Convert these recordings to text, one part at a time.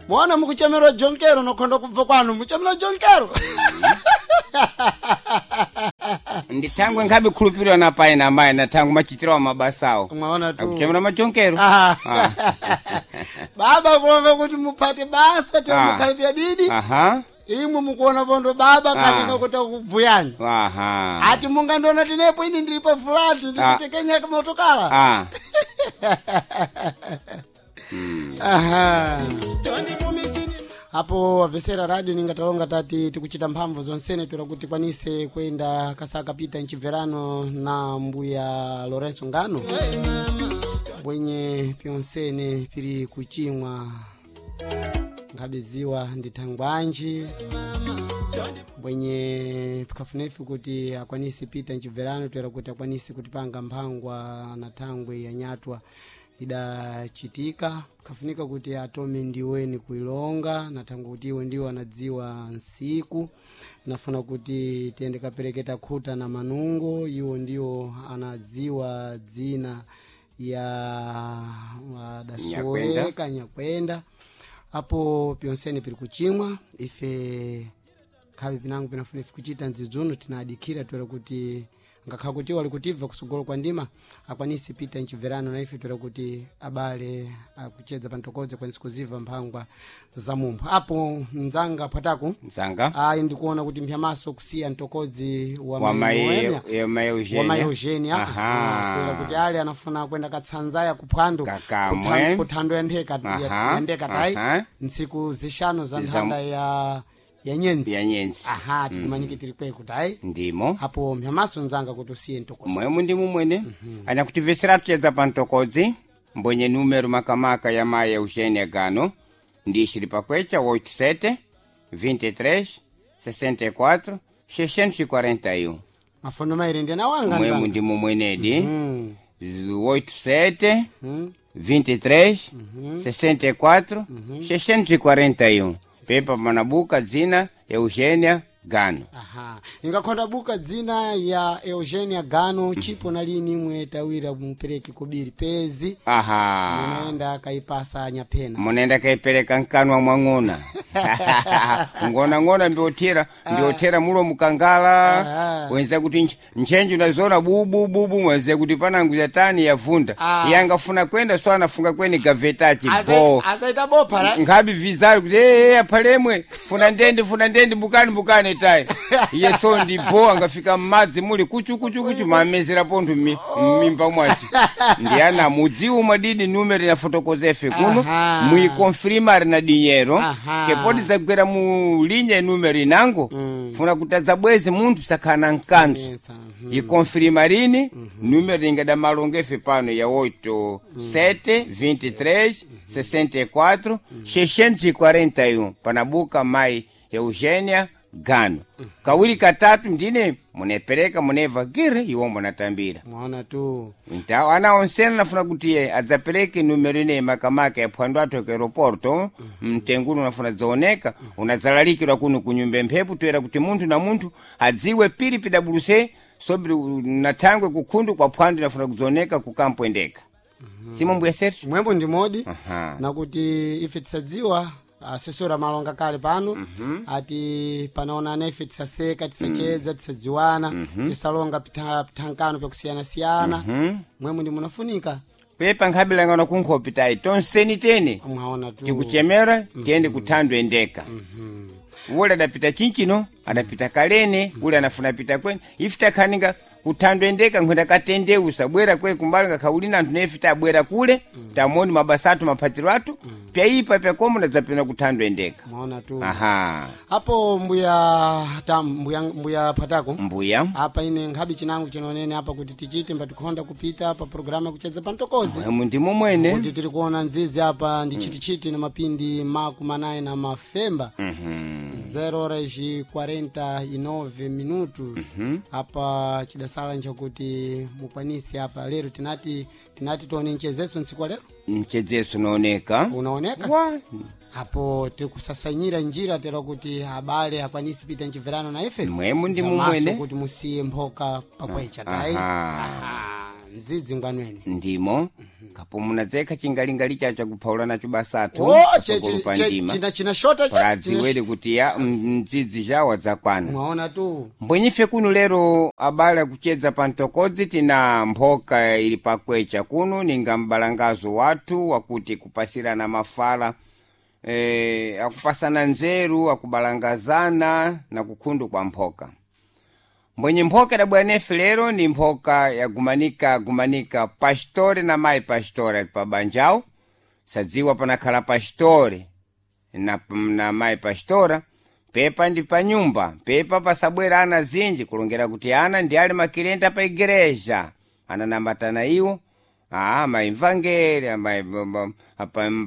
Mwana mukuchemerwa jonkero nokhonda kubva kwanu muchemerwa jonkero. Ndithangwe nkhabe khulupirwa na pai na mai na thangwe machitiro wa mabasawo. Mwaona tu. Akuchemera majonkero. Ah. Ah. Baba kulonga kuti mupate basa Ah. tiomukhalipya didi. Aha. Imwe mukuona pondo baba Ah. kalinga kuti akubvuyani. Aha. Ati mungandiona tinepo ini ndiri pa fulati ndikutekenya motokala. Ah. Aha. Apo wavesera radio ningatalonga tati tikuchita mphamvu zonsene toera kuti tikwanise kuyenda kasaka pita mchibverano na mbuya Lorenzo Ngano bwenye pyonsene pili kuchimwa nkhabiziwa ndi thangwanji bwenye pikafunefi kuti akwanise pita mchibverano toera kuti akwanise kutipanga mphangwa na thangwe ya nyatwa idachitika kafunika kuti atome ndiweni kuilonga na thangwe kuti iwe ndiwo anadziwa nsiku nafuna kuti tiyende kapereketa khuta na manungo iwo ndiwo anadziwa dzina ya Nyakwenda. adasoeka nyakwenda apo pyonsene pili kuchimwa ife khavi pinango pinafuna ife kuchita ndzidzuno tinadikira toera kuti ngakhala kuti wali kutibva kusogolo kwa ndima akwanise pita mchibverano na ife toera kuti abale akuchedza pantokodze akwanise kuziva mphangwa za mumpho apo mdzanga phwatako Mzanga. ayi ndikuona kuti mphyamaso kusiya mtokodzi wa Wa mai mai Noemia ya mai Eugenia. wa mai Eugenia Aha. toera kuti ali anafuna kwenda katsanzaya kuphwando Kakamwe. kuthando ya ntheka Aha, ya ndeka tayi aha. ntsiku zixanu za nthanda ya nyenzi Ya nyenzi. aha tikumanike tiri kweku tayi Ndimo. apo mphyamaso nzanga kuti usiye mtokodzi Mwemu ndimu mwene. Anyakutivesera tuchedza pa ntokodzi mbwenye numero makamaka ya mai Eugenia Gano ndi xili pakwecha 87 23 64 641. mafondo maire ndi anawanga Mwemu nzanga ndimu mwenedi. 87 23 64 641. Pepa panabuka dzina Eugenia Gano. aha ingakhonda buka dzina ya Eugenia Gano chipo nalini imwe tawira mupereke kubiri pezi Aha. munaenda kaipasa nyaphena Munaenda kaipereka nkanwa mwang'ona. Ng'ona-ng'ona mbiothera mbiothera mulo mukangala. Aha. Wenza kuti ntchenji unazona bubu bubu mwenze kuti panangu yatani yavunda. Ah. Yangafuna kwenda so anafunga kweni gavetachi bo. asaita bopha ra Nkhabi vizali kuti ee aphalemwe funa ndende funa ndende bukani bukani tayi. Iye so ndi bo angafika m'madzi muli kuchu kuchu kuchu mamezera pontho m'mimba mwaci. Ndi ana mudziwu mwadidi numero inafotokoza ife kuno Aha. muikonfirima na dinyero Aha. kepoti zagwera mu linya numero inango funa kuti adzabweze munthu sakhala mkanthu Yes, mhm. ikonfirima rini numero ingada malongo efe pano ya 8 7 23 64 641 panabuka mai Eugenia Gano kawiri katatu ndine munepereka muneva gire iwo munatambira mwaona tu Então, ana onsena nafuna kuti ye adzapereke numero ineyi makamaka ya phwando athu ku aeroporto mtenguno unafuna dzaoneka unadzalalikidwa kuno kunyumba mphepo toera kuti munthu na munthu adziwe pili pidabuluse sobri nathangwe kukhundu kwa phwando inafuna kudzaoneka kukampwendeka simo mbuya Sergio mwembo ndi modi Aha. nakuti ife tisadziwa asesora malonga kale pano ati panaonana ife tisaseka tisacheza tisadziwana tisalonga pithankano pyakusiyanasiyana mwembo ndi munafunika pepa nkhabilangana kunkhopi tayi tonseni tene mwaona tu tikuchemera tiyende kuthandwe ndeka ule adapita chinchino adapita kalene ule anafuna pita kwene ife takhaninga kuthandwe ndeka nkhwenda katendeusa bwera kwe kumbali ngakhauli na anthu nefe tabwera kule tamoni mabasa athu maphatiro athu pyaipa pyakomo nadzapena kuthandwe ndeka mwaona tu aha apo mbuya tam mbuya mbuya patako mbuya apa ine nkhabi chinango chinonene apa kuti tichite mbatikhonda kupita pa programu yakuchedza pa mtokozi mwemu ndimo mwene kuti tiri kuona nzizi apa ndi chitichiti na mapindi makumi anayi na mafemba 0 horas e 49 minutos apa chidasala nchakuti mukwanise apa lero tinati tione mchezeso ntsiku wa lero mchedzeso unaoneka unaoneka wa apo tiri kusasanyira njira tera kuti abale akwanise pita mchibverano na ife Mwemu ndi Zamaso mumwene. kuti musiye mphoka pakwecha tayi Aha. Aha. Mdzidzi ngwanweni. Ndimo kapo munadzekha chingalingali chacho chakuphaula nacho basathu Oh, patsogolo pa ndima china shota pradziwere kuti ya mdzidzi chawo adzakwana. Mwaona tu. Mbwenyife kuno lero abale akuchedza pa mtokodzi tina mphoka ili pakwecha kuno ninga mbalangazo wathu wakuti kupasirana mafala akupasana nzeru, akubalangazana na kukhundu kwa mphoka. Mbwenye mphoka idabwera nefe lero ni mphoka yagumanika gumanika pastore na mayi pastore ali pabanjawo. Sadziwa panakhala pastore na mayi pastora pepa ndi pa nyumba pepa pasabwera ana zinji kulongera kuti ana ndi ali makilenta pa igreja ananamatana iwo maimvangeri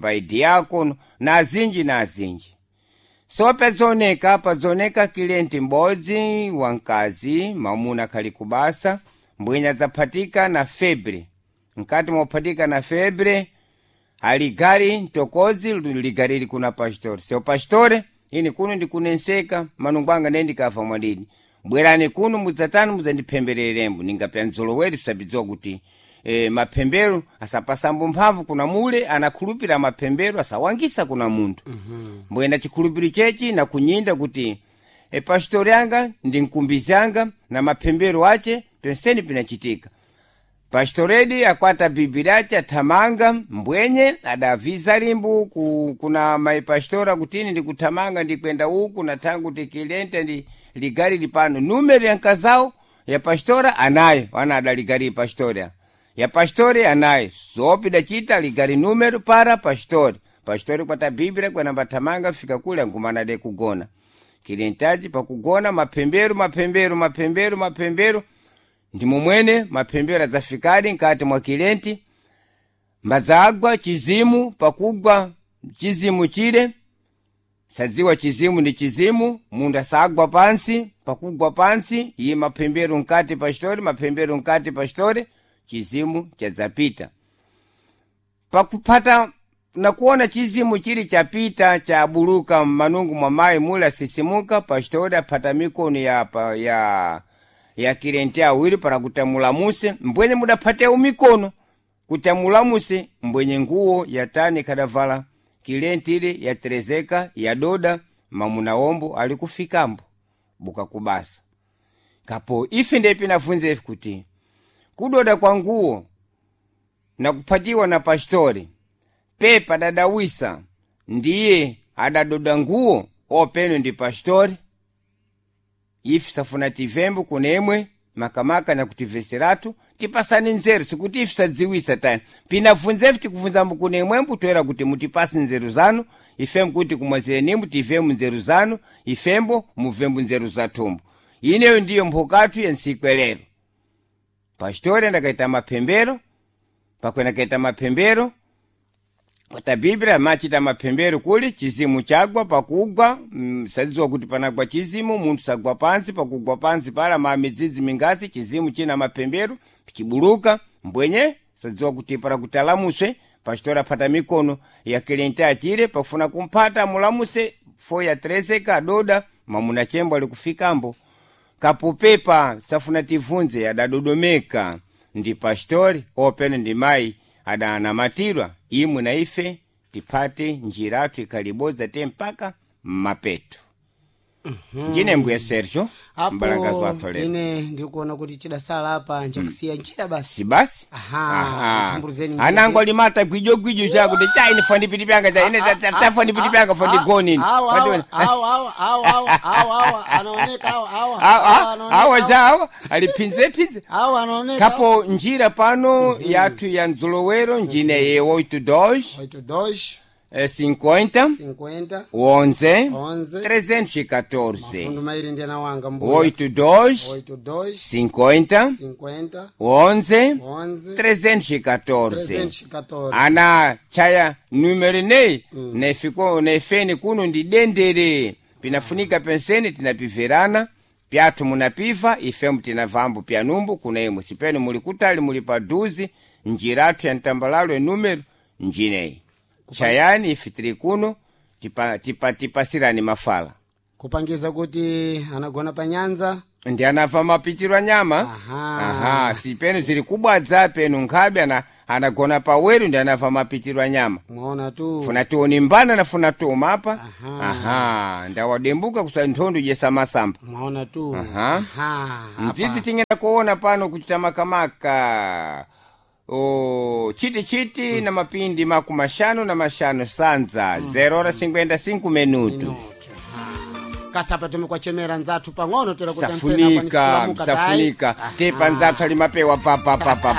maidiakono na zinji na zinji. So padzoneka padzoneka kilenti m'bodzi wamkazi mamuna khali kubasa mbwenya adzaphatika na febre. Mkati mophatika na febre aligari mtokodzi ligari ili kuna pastore. Seu pastore ini kuno ndikunenseka manungu anga ndiye ndikafa mwadini bwerani kuno mudzatani mudzandiphembererembo ningapya mdzoloweri tisabidziwa kuti maphembero asapasambo mphamvu kuna mule anakhulupira maphembero asawangisa kuna munthu. Mbwena chikhulupiro chechi nakunyinda kuti pastori anga ndi mkumbizi anga na maphembero ache penseni pinachitika. Pastoredi akwata bibi lache athamanga mbwenye adaviza limbu kuna maipastora kutini ndikuthamanga ndikwenda uku nathangu tikilente ndi ligari lipano numero ya nkazao ya pastora anayo ana adaligari pastoria ya pastori anayo sopi dachita ligari numero para pastori. Pastori kwata biblia kwanamba thamanga fika kule angumana de kugona kilentaji pakugona maphembero maphembero maphembero maphembero ndimo mwene maphembero adzafikadi nkati mwa kilenti mbadzagwa chizimu. Pakugwa chizimu chile sadziwa chizimu ndi chizimu munthu asagwa pansi. Pakugwa pansi iye maphembero nkati pastori maphembero nkati pastori chizimu chadzapita. Pakuphata nakuona chizimu chili chapita chabuluka mmanungu mwa mayi mule asisimuka. Pastori aphata mikono ya kilenti awiri para kuti amulamuse mbwenye mudaphatewu mikono kuti amulamuse mbwenye nguwo yatani ikadavala kilenti ile yaterezeka yadoda mamuna ombo ali kufikambo buka kubasa. Kapo ife ndiye pinafunza ife kuti kudoda kwa nguwo na kuphatiwa na pastori pepa dadawisa ndiye adadoda nguwo openo ndi pastori. Ife safuna tivembo kunemwe makamaka na kutiveseratu tipasane nzeru sikuti ife sadziwisa tani pinabvunza ife tikubvunzambo kunemwembo toera kuti mutipase nzeru zanu ifembo kuti kumwazirenimbo tivembo nzeru zanu ifembo muvembo nzeru zathumbo. Ineyo ndiyo mphokathu ya ntsiku lero. Pastori andakaita maphembero pakwena kaita maphembero kwata biblia machita maphembero kuli chizimu chagwa pakugwa sadziwa kuti panagwa chizimu munthu sagwa pansi. Pakugwa pansi pala ma midzidzi mingasi chizimu china maphembero chibuluka mbwenye sadziwa kuti para kuti alamuswe pastora aphata mikono ya kilenti achire pakufuna kumphata amulamuse fo yaterezeka adoda mamuna chembo ali kufikambo. Kapopepa safuna tivunze adadodomeka ndi pastori opene ndi mayi adanamatirwa imwe na ife tiphate njiratu ikhalibodza te mpaka mmapeto. Njine mbuya Sergio mbalangazi wathu Apo lero ine ndikuona kuti chidasala apa nchakusiya njira basi. Si basi. Aha, timburuzeni njira. Anango alimata gwijogwijo chakuti cha ine fandipiti pyanga cha ine tafandipiti pyanga fandigoni ine. Awa, awa, awa, awa, awa, awa, awa, anaoneka awa, awa, awa, anaoneka, Awa za awa aliphinzephinze awa anaoneka. kapo njira pano yathu ya mdzolowero njine ye 82 82 50 50 11 11 314 mafundu mairi ndi anawanga mbuya. 82 82 50 50 11 11 314 314. Ana chaya numero nei nefiko nefeni kuno ndi dendere pinafunika penseni tinapiverana pyathu munapiva ifembo tinavambo pyanumbu kuna imwe sipene muli kutali muli paduzi njiratu ya mtambalalo enumero njineyi chayani ife tili kuno tipasirani mafala Kupangiza kuti anagona pa nyanza. Ndi anafa mapitiro nyama. Aha. Aha, si penu zili kubwadza penu nkhabe anagona paweru ndi anafa mapitiro nyama. Mwaona tu. Funa tioni mbana nafuna toma apa. Aha. Aha, ndawadembuka kusa nthondo jesamasamba. Mwaona tu. Aha. Aha. Mdzidzi tingenda kuona pano kuchita makamaka o chiti chiti na mapindi 55 sanza 0:55 minutu. Kasapa tumekwachemera nzathu pang'ono tera kuti Safunika, safunika tepa nzathu ali mapewa pa pa pa pa.